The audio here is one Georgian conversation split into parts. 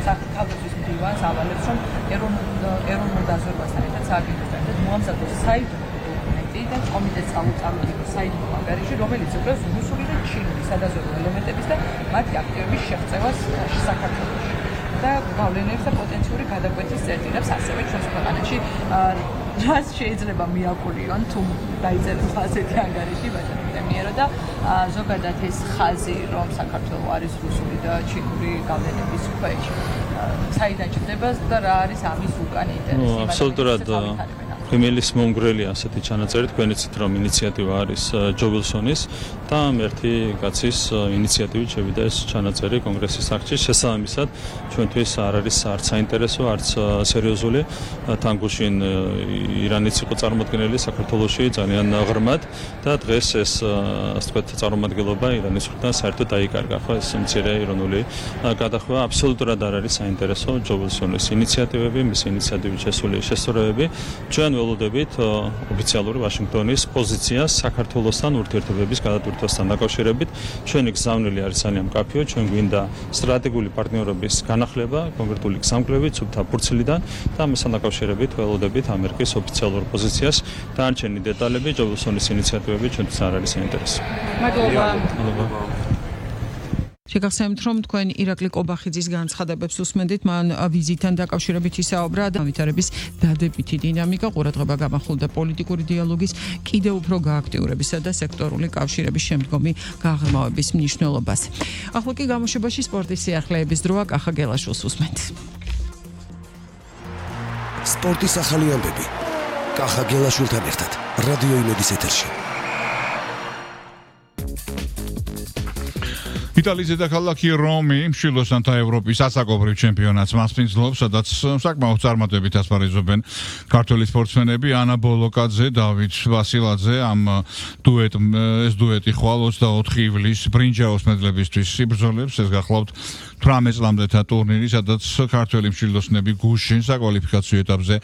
თავდაცვის მდივანს ავალებს, რომ ეროვნულ დაზვერვასთან ერთად სააგენტოსთან ერთად მოამზადოს საიდუმლო დოკუმენტი და კომიტეტს წამოწამოს საიდუმლო ანგარიში, რომელიც იკვლევს რუსული და ჩინური სადაზვერვო ელემენტების და მათი აქტივების შეღწევას საქართველოში და გავლენებს და პოტენციური გადაკვეთის წერტილებს ასევე ჩვენს ქვეყანაში რაც შეიძლება მიაკულიონ თუ დაიწეროს ასეთი ანგარიში ბატონო პრემიერო და ზოგადად ეს ხაზი რომ საქართველოს არის რუსული და ჩინური გავლენების ქვეშ საიდან ჩნდება და რა არის ამის უკან ინტერესი აბსოლუტურად პრემიერის მომგვრელი ასეთი ჩანაწერი თქვენ იცით რომ ინიციატივა არის ჯო ვილსონის და ერთი კაცის ინიციატივით შევიდა ეს ჩანაწერი კონგრესის არჩევის შესაბამისად ჩვენთვის არ არის არც საინტერესო არც სერიოზული თან გუშინ ირანიც იყო წარმოადგენელი საქართველოში ძალიან ღრმად და დღეს ეს ასე ვთქვათ წარმომადგენლობა ირანის მხრიდან საერთოდ დაიკარგა ხო ეს მცირე ირონული გადახვევა აბსოლუტურად არ არის საინტერესო ჯო ვილსონის ინიციატივები მის ინიციატივით შესული შესწორებები ჩვენ ველოდებით ოფიციალური ვაშინგტონის პოზიციას საქართველოსთან ურთიერთობების გადატვირთვასთან დაკავშირებით ჩვენი გზავნილი არის ძალიან მკაფიო ჩვენ გვინდა სტრატეგიული პარტნიორობის განახლება კონკრეტული გზამკვლევით სუფთა ფურცლიდან და ამასთან დაკავშირებით ველოდებით ამერიკის ოფიციალურ პოზიციას დანარჩენი დეტალები ჯო ვილსონის ინიციატივები ჩვენთვის არ არის საინტერესო მადლობა შეგახსენებთ, რომ თქვენ ირაკლი კობახიძის განცხადებებს უსმენდით, მან ვიზიტთან დაკავშირებით ისაუბრა და განვითარების დადებითი დინამიკა ყურადღება გამახვილდა პოლიტიკური დიალოგის კიდევ უფრო გააქტიურებისა და სექტორული კავშირების შემდგომი გაღრმავების მნიშვნელობას. ახლა კი გამოშვებაში სპორტის სიახლეების დროა კახა გელაშვილს უსმენთ. სპორტის ახალი ამბები. კახა გელაშვილთან ერთად რადიო იმედის ეთერში. იტალიის დედაქალაქი რომი მშვილოსანთა ევროპის ასაკობრივ ჩემპიონატს მასპინძლობს, სადაც საკმაოდ წარმატებით ასპარეზობენ ქართველი სპორტსმენები ანა ბოლოკაძე, დავით ვასილაძე. ამ დუეტი ხვალ 24 ივლისს ბრინჯაოს მედლებისთვის იბრძოლებს. ეს გახლავთ 18 წლამდეთა ტურნირი, სადაც ქართველი მშვილოსნები გუშინ საკვალიფიკაციო ეტაპზე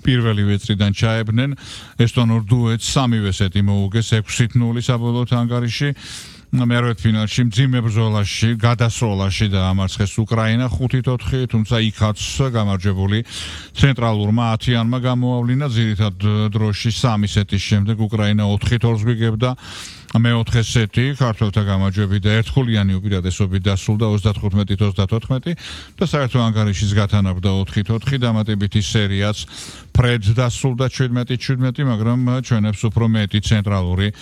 პირველი ვეწრიდან ჩაებდნენ. ესტონურ დუეტს სამივე სეტი მოუგეს 6-0 საბოლოო ანგარიში. მერვე ფინალში მძიმე ბრძოლაში გადასროლაში დაამარცხეს უკრაინა 5-4, თუმცა იქაც გამარჯვებული ცენტრალურმა ათიანმა გამოავლინა ძირითად დროში 3 სეტის შემდეგ უკრაინა 4-2 გვიგებდა. მეოთხე სეტი ქართველთა გამარჯვებით და ერთგოლიანი უპირატესობით დასრულდა 35-34 და საერთო ანგარიშის გათანაბრდა 4-4 დამატებითი სერიაც ფრედ დასრულდა 17-17, მაგრამ ჩვენებს უფრო მეტი ცენტრალური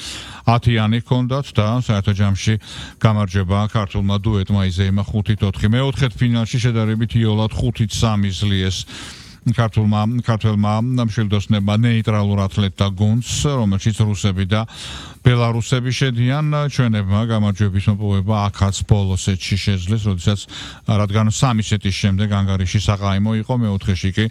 ათიანი ჰქონდათ და საერთო ჯამში გამარჯვება ქართულმა დუეტმა იზეიმა 5-4. მეოთხე ფინალში შედარებით იოლად 5-3 ზლიეს ქართულმა მშვილდოსნებმა ნეიტრალურ ათლეტთა გუნდს, რომელშიც რუსები და ბელარუსები შედიან. ჩვენებმა გამარჯვების მოპოვება აქაც ბოლო სეტში შეძლეს, რადგან 3 სეტის შემდეგ ანგარიში საყაიმო იყო. მეოთხეში კი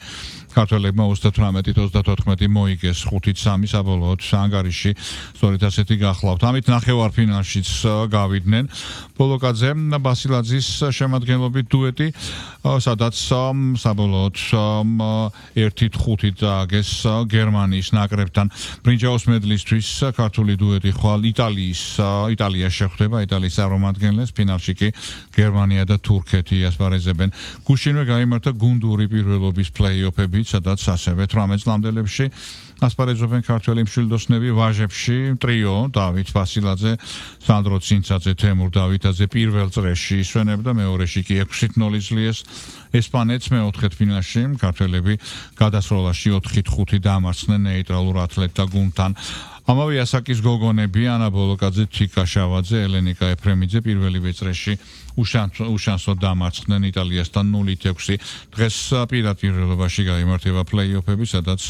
ქართველებმა 38-34 მოიგეს 5-3 საბოლოოდ ანგარიში სწორედ ასეთი გახლავთ. ამით ნახევარფინალშიც გავიდნენ ბოლოკაძე ბასილაძის შემადგენლობით დუეტი, სადაც საბოლოოდ 1-5 დააგეს გერმანიის ნაკრებთან. ბრინჯაოს მედლისთვის ქართული დუეტი ხვალ იტალია შეხვდება, იტალიის წარმომადგენლებს. ფინალში კი გერმანია და თურქეთი ასპარეზებენ. გუშინვე გაიმართა გუნდური პირველობის პლეი-ოფები, სადაც ასევე 18 წლამდელებში ასპარეზობენ ქართველი მშვილდოსნები. ვაჟებში ტრიო დავით ვასილაძე, სანდრო ცინცაძე, თემურ დავითაძე პირველ წრეში ისვენებდა, მეორეში კი 6-0 ზლიეს ესპანეთს. მეოთხე ფინალში ქართველები გადასროლაში 4-5 დაამარცხნენ ნეიტრალურ ათლეტთა გუნდთან. ამავე ასაკის გოგონები ანა ბოლოკაძე, თიკა შავაძე, ელენიკა ეფრემიძე პირველივე წრეში უშანსოდ დამარცხდნენ იტალიასთან 0-6. დღეს პირდაპირობაში გაიმართება პლეი-ოფები, სადაც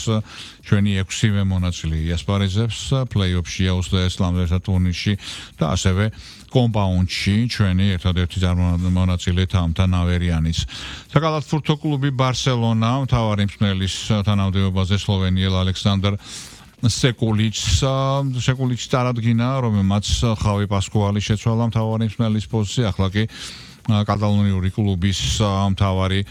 ჩვენი 6-ვე მონაწილე იასპარეზებს პლეი-ოფში 20 წლამდეთა ტურნირში და ასევე კომპაუნდში ჩვენი ერთადერთი მონაწილე თამთა ნავერიანის. საკალათბურთო კლუბი ბარსელონა მთავარი მსმენელის თანამდებობაზე სლოვენიელ ალექსანდრ სეკულიჩს წარადგინა, რომელმაც ხავი პასკუალი შეცვალა მთავარი მსმენელის პოსტზე. ახლა კი კატალონიური კლუბის მთავარი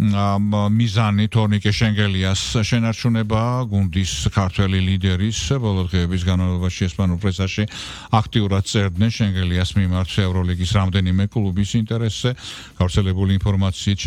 მიზანი თორნიკე შენგელიას შენარჩუნება, გუნდის ქართველი ლიდერის ბოლო დღეების განმავლობაში ესპანურ პრესაში აქტიურად წერდნენ შენგელიას მიმართ ევროლიგის რამდენიმე კლუბის ინტერესზე. გავრცელებული ინფორმაციით